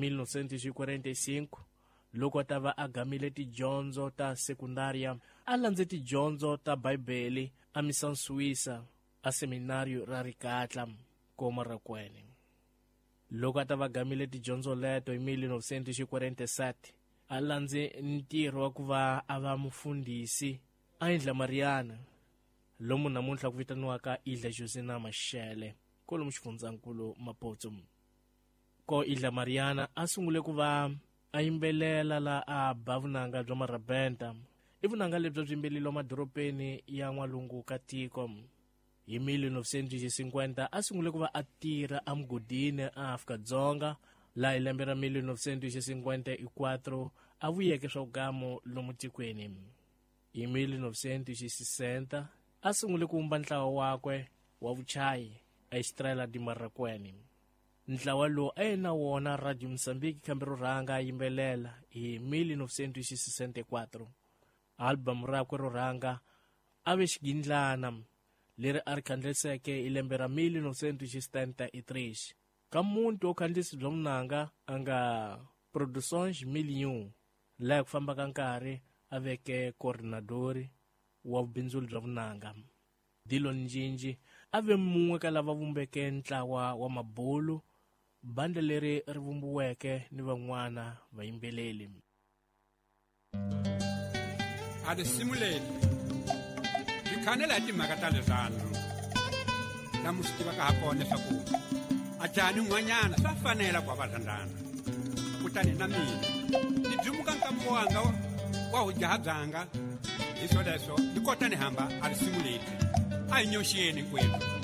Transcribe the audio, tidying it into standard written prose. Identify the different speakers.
Speaker 1: 1945 loko a ta va a gamile tidyondzo ta sekundaria, a landze tidyondzo ta Bibele a Missão Suíça a seminario ra Rikatla ko Marracuene. Loko a ta va gamile tidyondzo leto hi 1947, a landze ntirho wa ku va a va mufundhisi a Indla Mariana, lomu namuntlha ku vitaniwaka Ilha Josina Machel, kwalomu xifundzankulu Maputo. Ko Ilha Mariana a sungule ku va a yimbelela la a ba vunanga bya marabenta. I vunanga lebyi byi yimbeleliwa madorobeni ya n'walungu ka tiko. Hi 1950 a sungule ku va a tirha emugodini a Afrika-Dzonga, laha hi lembe ra 1954 a vuyeke swa vugamu lomu tikweni. Hi 1960 a sungule ku vumba ntlawa wakwe wa vuchayi a Estrela de Marracuene. Ntlawa lowu a yi na wona Radio Mozambique kambe ro rhanga a yimbelela hi 1964. Album rakwe ro rhanga a ve xigindlana leri a ri khandliseke hi lembe ra 1973. Ka muti wo khandlisi bya vunanga a nga Produções Million, laha ku famba ka nkarhi a veke coordinador wa vubindzuli bya vunanga. Dillon Njinji a ve mun'we ka lava vumbeke ntlawa wa mabulu, bandla leri ri vumbiweke ni van'wana vayimbeleli.
Speaker 2: A risimu leri ri khanela hi timhaka ta rirhandzu, lamu swi tivaka ha kona leswaku a jaha ni n'hwanyana swa fanela ku va va rhandzana. Kutani na mina ni byimuka nkambo wanga wa vujaha byanga, hi swoleswo ni kota ni hamba a risimu leri a hi nyoxeni hinkwenu.